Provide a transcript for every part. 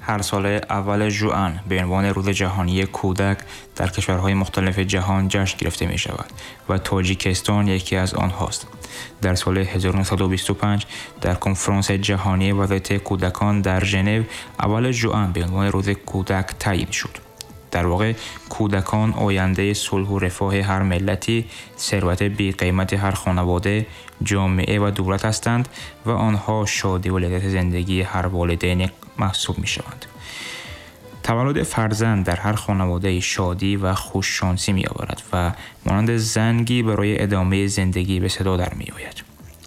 هر ساله اول ژوئن به عنوان روز جهانی کودک در کشورهای مختلف جهان جشن گرفته می شود و تاجیکستان یکی از آنهاست. در سال 1925 در کنفرانس جهانی وضعیت کودکان در ژنو اول ژوئن به عنوان روز کودک تعیین شد. در واقع کودکان آینده صلح و رفاه هر ملتی، ثروت بی قیمت هر خانواده، جامعه و دولت هستند و آنها شادی و لذت زندگی هر والدین محسوب می شوند. تولد فرزند در هر خانواده شادی و خوششانسی می آورد و مانند زنگی برای ادامه زندگی به صدا در می آید.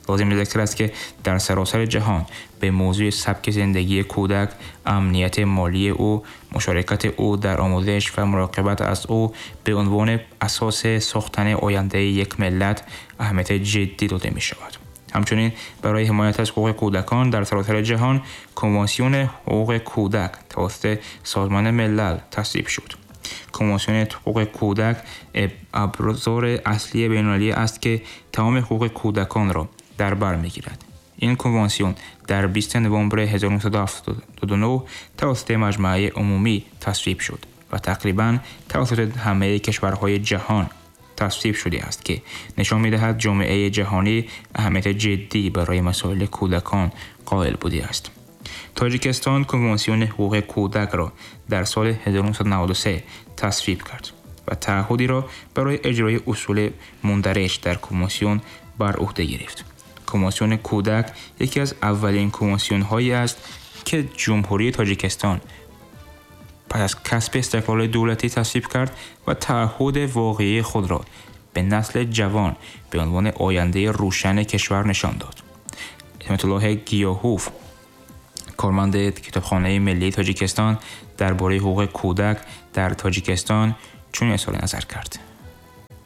لازم به ذکر است که در سراسر جهان به موضوع سبک زندگی کودک، امنیت مالی او، مشارکت او در آموزش و مراقبت از او به عنوان اساس ساختن آینده یک ملت اهمیت جدی داده می شود. همچنین برای حمایت از حقوق کودکان در سراسر جهان کنوانسیون حقوق کودک توسط سازمان ملل تصویب شد. کنوانسیون حقوق کودک ابزار اصلی بین‌المللی است که تمام حقوق کودکان را در بر می‌گیرد. این کنوانسیون در 20 نوامبر 1979 توسط مجمع عمومی تصویب شد و تقریباً توسط همه کشورهای جهان تصویب شده است که نشان می‌دهد جامعه جهانی اهمیت جدی برای مسائل کودکان قائل بوده است. تاجیکستان کنوانسیون حقوق کودک را در سال 1993 تصویب کرد و تعهدی را برای اجرای اصول مندرج در کنوانسیون بر عهده گرفت. کنوانسیون کودک یکی از اولین کنوانسیون‌هایی است که جمهوری تاجیکستان پس از کسب استقلال دولتی تصویب کرد و تعهد واقعی خود را به نسل جوان به عنوان آینده روشن کشور نشان داد. عصمت الله گیاهوف، کارمند کتابخانه ملی تاجیکستان، درباره حقوق کودک در تاجیکستان چنین اظهار نظر کرد.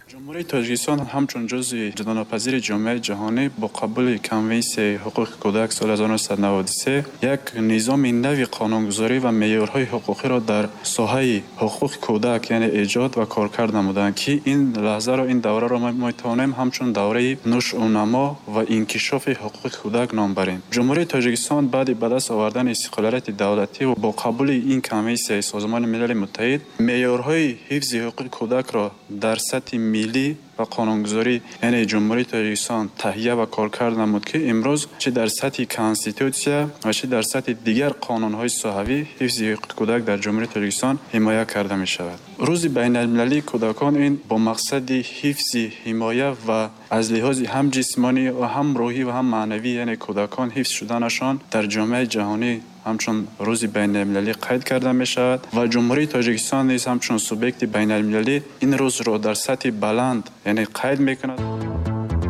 جمهوری تاجیکستان همچون جزء جداناپذیر جامعه جهانی با قبول کنوانسیون حقوق کودک سال 1993 یک نظام نوی قانونگذاری و معیارهای حقوقی را در ساحه حقوق کودک یعنی ایجاد و کارکرد نمودند که این لحظه را، این دوره را ما میتوانیم همچون دوره نشو و نما و انکشاف حقوق کودک نام بریم. جمهوری تاجیکستان بعد به دست آوردن استقلالیت دولتی و با قبول این کنوانسیون سازمان ملل متحد معیارهای حفظ حقوق کودک را در سطح ملی و قانونگذاری یعنی جمهوری تاجیکستان تهیه و کارکرد نمود که امروز چه در سطح کنستیتوتسیا و چه در سطح دیگر قانون‌های ساحوی حفظ حقوق کودک در جمهوری تاجیکستان حمایت کرده می شود. روز بین المللی کودکان این با مقصد حفظ، حمایت و از لحاظ هم جسمانی و هم روحی و هم معنوی یعنی کودکان حفظ شدنشان در جامعه جهانی همچون روز بین المللی قید کرده می شود و جمهوری تاجیکستان نیز همچون سوبکت بین المللی این روز را در سطح بلند یعنی قید می کند.